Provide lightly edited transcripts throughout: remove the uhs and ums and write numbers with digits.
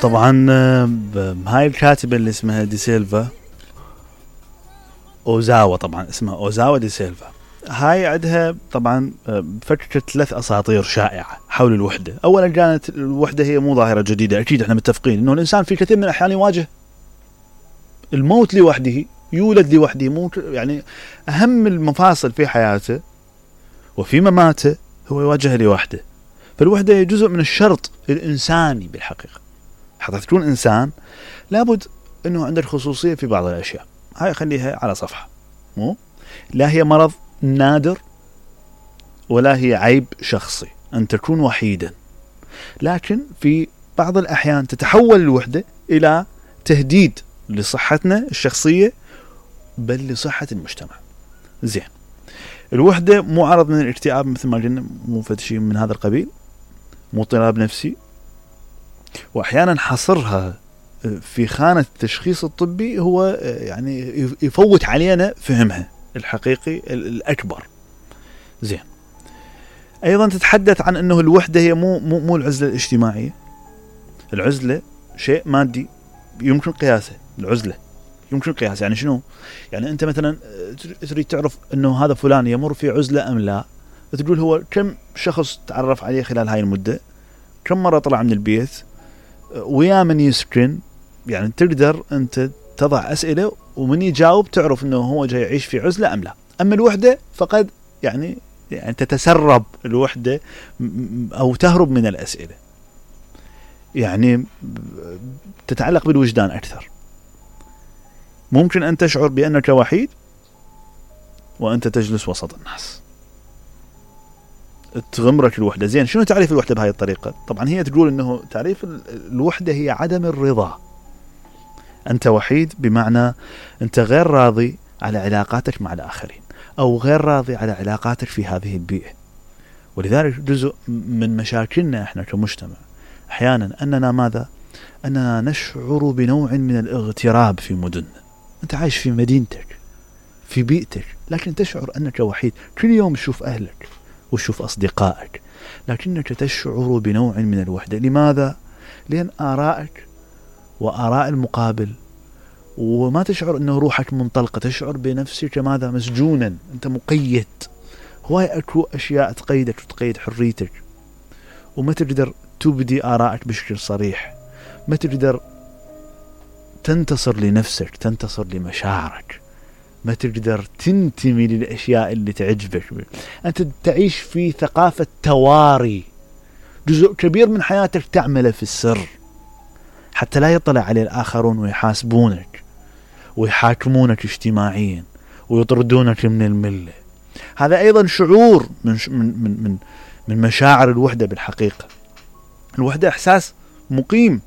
طبعا هاي الكاتبة اللي اسمها دي سيلفا أوزاوا، طبعا اسمها أوزاوا دي سيلفا. هاي عندها طبعا فكرت 3 أساطير شائعة حول الوحدة. أولا كانت الوحدة هي مو ظاهرة جديدة، أكيد احنا متفقين إنه الإنسان في كثير من الأحيان يواجه الموت لوحده، يولد لوحده، مو يعني أهم المفاصل في حياته وفي مماته هو يواجه لوحده. فالوحدة هي جزء من الشرط الإنساني بالحقيقة. حتى تكون إنسان لابد أنه عندك خصوصية في بعض الأشياء. هاي خليها على صفحة، مو لا هي مرض نادر ولا هي عيب شخصي أن تكون وحيدا، لكن في بعض الأحيان تتحول الوحدة إلى تهديد لصحتنا الشخصية بل لصحة المجتمع. زين، الوحدة مو عرض من الاكتئاب مثل ما قلنا، مو شيء من هذا القبيل، مو اضطراب نفسي. وأحيانا حصرها في خانة التشخيص الطبي هو يعني يفوت علينا فهمها الحقيقي الأكبر. زين، أيضا تتحدث عن أنه الوحدة هي مو العزلة الاجتماعية. العزلة شيء مادي يمكن قياسه. العزلة يمكن قياسه يعني شنو؟ يعني أنت مثلا تريد تعرف أنه هذا فلان يمر في عزلة أم لا، تقول هو كم شخص تعرف عليه خلال هاي المدة، كم مرة طلع من البيت، ويا من يسكن. يعني تقدر أنت تضع أسئلة ومن يجاوب تعرف أنه هو جاي يعيش في عزلة أم لا. أما الوحدة فقد يعني تتسرب الوحدة أو تهرب من الأسئلة، يعني تتعلق بالوجدان أكثر. ممكن أن تشعر بأنك وحيد وأنت تجلس وسط الناس، تغمرك الوحدة. زين، شنو تعريف الوحدة بهاي الطريقة؟ طبعا هي تقول أنه تعريف الوحدة هي عدم الرضا. أنت وحيد بمعنى أنت غير راضي على علاقاتك مع الآخرين، أو غير راضي على علاقاتك في هذه البيئة. ولذلك جزء من مشاكلنا إحنا كمجتمع أحيانا أننا ماذا؟ أننا نشعر بنوع من الاغتراب في مدننا. أنت عايش في مدينتك في بيئتك، لكن تشعر أنك وحيد. كل يوم تشوف أهلك وتشوف أصدقائك، لكنك تشعر بنوع من الوحدة. لماذا؟ لأن آرائك وآراء المقابل، وما تشعر أنه روحك منطلقة، تشعر بنفسك ماذا؟ مسجونا، أنت مقيد. هواي أكو أشياء تقيدك وتقيد حريتك، وما تقدر تبدي آرائك بشكل صريح، ما تقدر تنتصر لنفسك، تنتصر لمشاعرك، ما تقدر تنتمي للأشياء اللي تعجبك. أنت تعيش في ثقافة تواري، جزء كبير من حياتك تعمله في السر حتى لا يطلع عليه الآخرون ويحاسبونك ويحاكمونك اجتماعيا ويطردونك من الملة. هذا أيضا شعور من مشاعر الوحدة بالحقيقة. الوحدة إحساس مقيم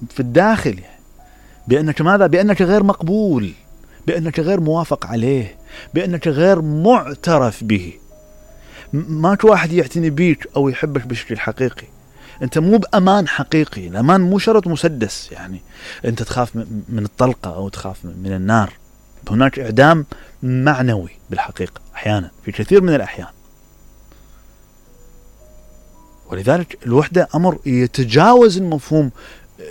في الداخل، يعني بأنك ماذا؟ بأنك غير مقبول، بأنك غير موافق عليه، بأنك غير معترف به. ماك واحد يعتني بيك أو يحبك بشكل حقيقي. أنت مو بأمان حقيقي. الأمان مو شرط مسدس، يعني أنت تخاف من الطلقة أو تخاف من النار. هناك إعدام معنوي بالحقيقة أحيانا، في كثير من الأحيان. ولذلك الوحدة أمر يتجاوز المفهوم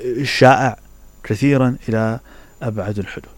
الشائع كثيرا إلى أبعد الحدود.